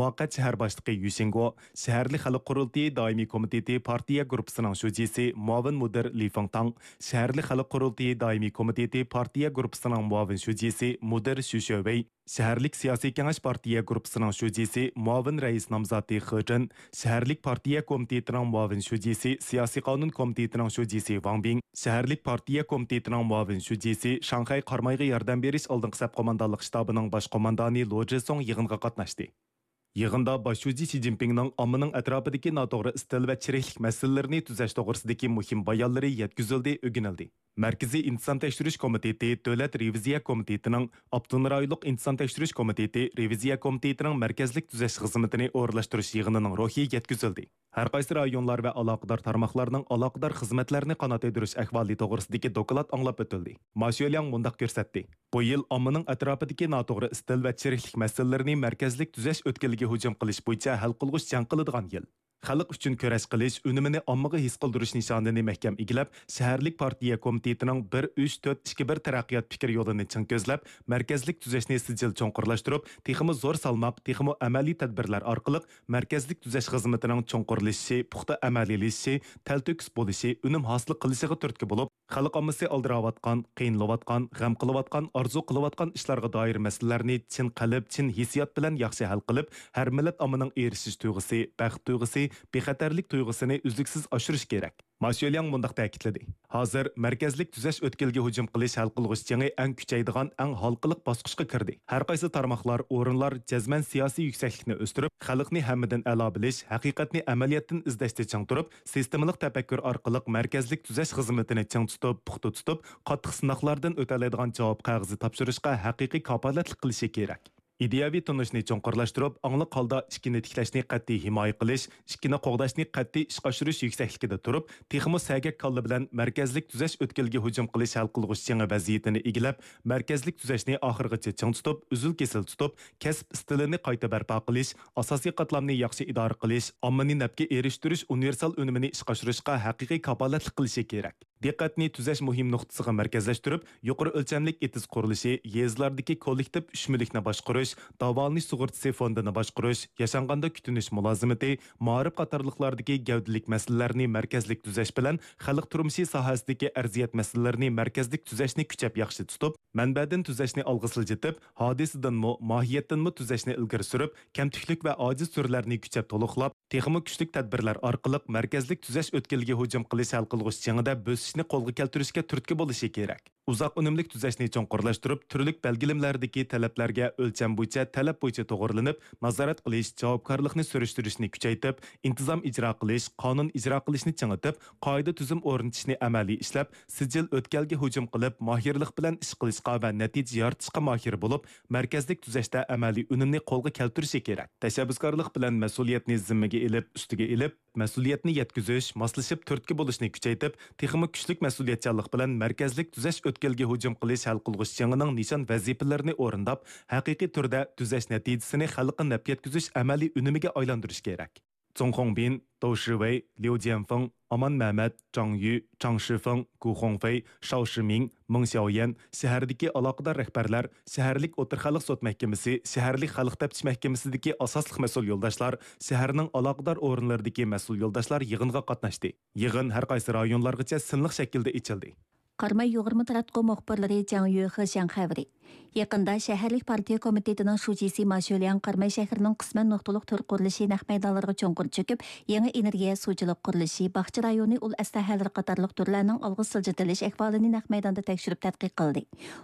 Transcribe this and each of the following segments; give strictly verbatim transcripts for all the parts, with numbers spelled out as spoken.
مۇۋەققەت شەھەر باشلىقى يۈ شىنگو، شەھەرلىك خەلق قۇرۇلتىيى دائىمىي كومىتېتى پارتىيە گۇرۇپپىسىنىڭ شۇجىسى، مۇئاۋىن مۇدىر لى فېڭتاڭ، شەھەرلىك خەلق قۇرۇلتىيى دائىمىي كومىتېتى پارتىيە گۇرۇپپىسىنىڭ مۇئاۋىن شۇجىسى، مۇدىر شۈ شۆۋېي، شەھەرلىك سىياسىي كېڭەش پارتىيە گۇرۇپپىسىنىڭ شۇجىسى، مۇئاۋىن رەئىس نامزاتى خې جېن، شەھەرلىك پارتىيە كومىتېتىنىڭ مۇئاۋىن شۇجىسى، سىياسىي قانۇن كومىتېتىنىڭ شۇجىسى ۋاڭ بىڭ، شەھەرلىك پارتىيە كومىتېتىنىڭ مۇئاۋىن شۇجىسى، شاڭخەي قارامايغا ياردەم بېرىش ئالدىنقى سەپ قوماندانلىق شتابىنىڭ باش قوماندانى لو جېسۇڭ يىغىنغا قاتناشتى. يىغىندا باش شۇجى شى جىنپىڭنىڭ ئاممىنىڭ ئەتراپىدىكى ناتوغرا ئىستىل ۋە چىرىكلىك مەسىلىلىرىنى تۈزەش توغرىسىدىكى مۇھىم بايانلىرى يەتكۈزۈلدى، ئۆگىنىلدى. مەركىزىي ئىنتىزام تەكشۈرۈش كومىتېتى، دۆلەت رېۋىزىيە كومىتېتىنىڭ، ئاپتونوم رايونلۇق ئىنتىزام تەكشۈرۈش كومىتېتى، رېۋىزىيە كومىتېتىنىڭ مەركەزلىك تۈزەش خىزمىتىنى ئورۇنلاشتۇرۇش يىغىنىنىڭ روھى يەتكۈزۈلدى. ھەر قايسى رايونلار ۋە ئالاقىدار تارماقلارنىڭ ئالاقىدار خىزمەتلەرنى قانات يايدۇرۇش ئەھۋالى توغرىسىدىكى دوكلات ئاڭلاپ ئۆتۈلدى. ما شۆلياڭ مۇنداق كۆرسەتتى. بۇ يىل ئاممىنىڭ ئەتراپىدىكى ناتوغرا ئىستىل ۋە چىرىكلىك مەسىلىلىرىنى مەركەزلىك تۈزەش ئۆتكىلىگە ھۇجۇم قىلىش بويىچە ھەل قىلغۇچ جەڭ قىلىدىغان يىل. خەلق ئۈچۈن كۈرەش قىلىش، ئۈنۈمىنى ئاممىغا ھېس قىلدۇرۇش نىشانىنى مەھكەم ئىگىلەپ، شەھەرلىك پارتىيە كومىتېتىنىڭ بىر ئۈچ تۆت ئىككى بىر تەرەققىيات پىكىر يولىنى چىڭ كۆزلەپ، مەركەزلىك تۈزەشنى سىجىل چوڭقۇرلاشتۇرۇپ، تېخىمۇ زور سالماق، تېخىمۇ ئەمەلىي تەدبىرلەر ئارقىلىق مەركەزلىك تۈزەش خىزمىتىنىڭ چوڭقۇرلىشىشى، پۇختا ئەمەلىيلىشىشى، تەلتۆكۈس بولۇشى، ئۈنۈم ھاسىل قىلىشىغا تۈرتكە بولۇپ، خەلق ئاممىسى ئالدىراۋاتقان، قىينىلىۋاتقان، غەم قىلىۋاتقان، ئارزۇ قىلىۋاتقان ئىشلارغا دائىر مەسىلىلەرنى چىن قەلب، چىن ھېسسىيات بىلەن ياخشى ھەل قىلىپ، ھەر مىللەت ئاممىنىڭ ئېرىشىش تۇيغۇسى، بەخت تۇيغۇسى، بىخەتەرلىك تۇيغۇسىنى ئۈزلۈكسىز ئاشۇرۇش كېرەك. ما شۆلياڭ مۇنداق تەكىتلىدى، ھازىر مەركەزلىك تۈزەش ئۆتكىلىگە ھۇجۇم قىلىش ھەل قىلغۇچ جېڭى ئەڭ كۈچەيدىغان، ئەڭ ھالقىلىق باسقۇچقا كىردى. ھەر قايسى تارماقلار، ئورۇنلار جەزمەن سىياسىي يۈكسەكلىكنى ئۆستۈرۈپ، خەلقنى ھەممىدىن ئەلا بىلىش، ھەقىقەتنى ئەمەلىيەتتىن ئىزدەشتە چىڭ تۇرۇپ، سىستېمىلىق تەپەككۇر ئارقىلىق مەركەزلىك تۈزەش خىزمىتىنى چىڭ تۇتۇپ، پۇختا تۇتۇپ، قاتتىق سىناقلاردىن ئۆتەلەيدىغان جاۋاب قەغىزى تاپشۇرۇشقا ھەقىقىي كاپالەتلىك قىلىشى كېرەك. ئىدىيەۋى تونۇشنى چوڭقۇرلاشتۇرۇپ، ئاڭلىق ھالدا ئىككىنى تىكلەشنى قەتئىي ھىمايە قىلىش، ئىككىنى قوغداشنى قەتئىي ئىشقا ئاشۇرۇش يۈكسەكلىكىدە تۇرۇپ، تېخىمۇ سەگەك كاللا بىلەن مەركەزلىك تۈزەش ئۆتكىلىگە ھۇجۇم قىلىش ھەل قىلغۇچ جېڭى ۋەزىيىتىنى ئىگىلەپ، مەركەزلىك تۈزەشنى ئاخىرغىچە چىڭ تۇتۇپ، ئۈزۈل-كېسىل تۇتۇپ، كەسىپ ئىستىلىنى قايتا بەرپا قىلىش، ئاساسىي قاتلامنى ياخشى ئىدارە قىلىش، ئاممىنى نەپكە ئېرىشتۈرۈش ئۇنىۋېرسال ئۈنۈمىنى ئىشقا ئاشۇرۇشقا ھەقىقىي كاپالەتلىك قىلىشى كېرەك. دىققەتنى تۈزەش مۇھىم نۇقتىسىغا مەركەزلەشتۈرۈپ، يۇقىرى ئۆلچەملىك ئېتىز قۇرۇلۇشى، يېزىلاردىكى كوللېكتىپ ئۈچ مۈلۈكنى باشقۇرۇش، داۋالىنىش سۇغۇرتىسى فوندىنى باشقۇرۇش، ياشانغاندا كۈتۈنۈش مۇلازىمىتى، مائارىپ قاتارلىقلاردىكى گەۋدىلىك مەسىلىلەرنى مەركەزلىك تۈزەش بىلەن خەلق تۇرمۇشى ساھەسىدىكى ئەرزىيەت مەسىلىلىرىنى مەركەزلىك تۈزەشنى كۈچەپ ياخشى تۇتۇپ، مەنبەدىن تۈزەشنى ئالغا سىلجىتىپ، ھادىسىدىنمۇ، ماھىيەتتىنمۇ تۈزەشنى ئىلگىرى سۈرۈپ، كەمتۈكلۈك ۋە ئاجىز تۈرلەرنى كۈچەپ تولۇقلاپ، تېخىمۇ كۈچلۈك تەدبىرلەر ئارقىلىق مەركەزلىك تۈزەش ئۆتكىلىگە ھۇجۇم قىلىش ھەل قىلغۇچ جېڭىدە بۆسۈشنى قولغا كەلتۈرۈشكە تۈرتكە بولۇشى كېرەك. ئۇزاق ئۈنۈملۈك تۈزەشنى چوڭقۇرلاشتۇرۇپ، تۈرلۈك بەلگىلىمىلەردىكى تەلەپلەرگە ئۆلچەم بويىچە، تەلەپ بويىچە توغرىلىنىپ، نازارەت قىلىش، جاۋابكارلىقنى سۈرۈشتۈرۈشنى كۈچەيتىپ، ئىنتىزام ئىجرا قىلىش، قانۇن ئىجرا قىلىشنى چىڭىتىپ، قائىدە تۈزۈم ئورنىتىشنى ئەمەلىي ئىشلەپ، سىجىل ئۆتكەلگە ھۇجۇم قىلىپ، ماھىرلىق بىلەن ئىش قىلىشقا ۋە نەتىجە يارىتىشقا ماھىر بولۇپ، مەركەزلىك تۈزەشتە ئەمەلىي ئۈنۈمنى قولغا كەلتۈرۈشى كېرەك. تەشەببۇسكارلىق بىلەن مەسئۇلىيەتنى زىممىگە ئېلىپ، ئۈستىگە ئېلىپ، مەسئۇلىيەتنى يەتكۈزۈش، ماسلىشىپ تۈرتكە بولۇشنى كۈچەيتىپ، تېخىمۇ كۈچلۈك مەسئۇلىيەتچانلىق بىلەن مەركەزلىك تۈزەش ئۆتكەلگە ھۇجۇم قىلىش ھەل قىلغۇچ جېڭىنىڭ نىشان ۋەزىپىلىرىنى ئورۇنداپ، ھەقىقىي تۈردە تۈزەش نەتىجىسىنى خەلققە نەپ يەتكۈزۈش ئەمەلىي ئۈنۈمىگە ئايلاندۇرۇش كېرەك. جۇڭ خۇڭبىن، داۋ شىۋېي، ليۇ جيەنفېڭ، ئامان مەمەت، جاڭ يۈ، چاڭ شىفېڭ، گۇ خۇڭفېي، شاۋ شىمىڭ، مېڭ شياۋيەن، شەھەردىكى ئالاقىدار رەھبەرلەر، شەھەرلىك ئوتتۇرا خەلق سوت مەھكىمىسى، شەھەرلىك خەلق تەپتىش مەھكىمىسىدىكى ئاساسلىق مەسئۇل يولداشلار، شەھەرنىڭ ئالاقىدار ئورۇنلىرىدىكى مەسئۇل يولداشلار يىغىنغا قاتناشتى. يىغىن ھەر قايسى رايونلارغىچە سىنلىق شەكىلدە ئېچىلدى. قاراماي يۇغۇرما تاراتقۇ مۇخبىرلىرى جاڭ يۈخې شياڭ خەۋىرى. يېقىندا شەھەرلىك پارتىيە كومىتېتىنىڭ شۇجىسى ما شۆلياڭ قاراماي شەھىرىنىڭ قىسمەن نۇقتىلىق تۈر قۇرۇلۇشى نەق مەيدانلىرىغا چوڭقۇر چۆكۈپ، يېڭى ئېنېرگىيە سۇچىلىق قۇرۇلۇشى، باغچە رايونى ئۇل ئەسلىھەلىرى قاتارلىق تۈرلەرنىڭ ئالغا سىلجىتىلىش ئەھۋالىنى نەق مەيداندا تەكشۈرۈپ تەتقىق قىلدى.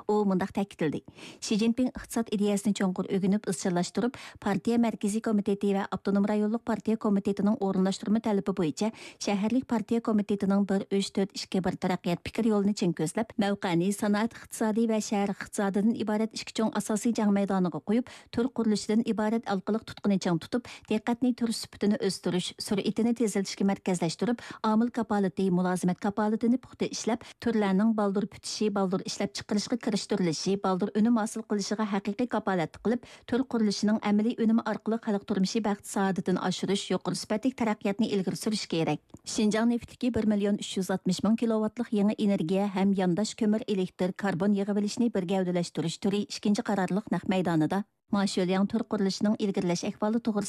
ئۇ مۇنداق تەكىتلىدى، شى جىنپىڭ ئىقتىساد ئىدىيەسىنى چوڭقۇر ئۆگىنىپ ئىزچىللاشتۇرۇپ، پارتىيە مەركىزىي كومىتېتى ۋە ئاپتونوم رايونلۇق پارتىيە كومىتېتىنىڭ ئورۇنلاشتۇرما تەلىپى بويىچە شەھەرلىك پارتىيە كومىتېتىنىڭ بىر ئۈچ تۆت ئىككى بىر تەرەققىيات پىكىر يولىنى چىڭ كۆزلەپ، مەۋقەنى سانائەت ئىقتىسادى ۋە شەھەر ئىقتىسادىدىن ئىبارەت ئىككى چوڭ ئاساسىي جەڭ مەيدانىغا قويۇپ، تۈر قۇرۇلۇشىدىن ئىبارەت ئارقىلىق تۇتقىنى چىڭ تۇتۇپ، دىققەتنى تۈر سۈپىتىنى ئۆستۈرۈش، سۈرئىتىنى تېزلىتىشكە مەركەزلەشتۈرۈپ، ئامىل كاپالىتى، مۇلازىمەت كاپالىتىنى پۇختا ئىشلەپ، تۈرلەرنىڭ بالدۇر پۈتۈشى، بالدۇر ئىشلەپچىقىرىشقا كىرىشتۈرۈلۈشى، بالدۇر ئۈنۈم ھاسىل قىلىشىغا ھەقىقىي كاپالەتلىك قىلىپ، تۈر قۇرۇلۇشىنىڭ ئەمەلىي ئۈنۈمى ئارقىلىق خەلق تۇرمۇشى بەخت-سائادىتىنى ئاشۇرۇش، يۇقىرى سۈپەتلىك تەرەققىياتنى ئىلگىرى سۈرۈش كېرەك. شىنجاڭ نېفىتىدىكى بىر مىليون ئۈچ يۈز ئاتمىش مىڭ كىلوۋاتلىق يېڭى ئېنېرگىيە ھەم يانداش كۆمۈر ئېلېكتر كاربون يىغىۋېلىشنى بىر گەۋدىلەشتۈرۈش تۈرى ئىككىنچى قارارلىق نەق مەيدانىدا ما شۆلياڭ تۈر قۇرۇلۇشىنىڭ ئىلگىرىلەش ئەھۋالى توغرىسىدا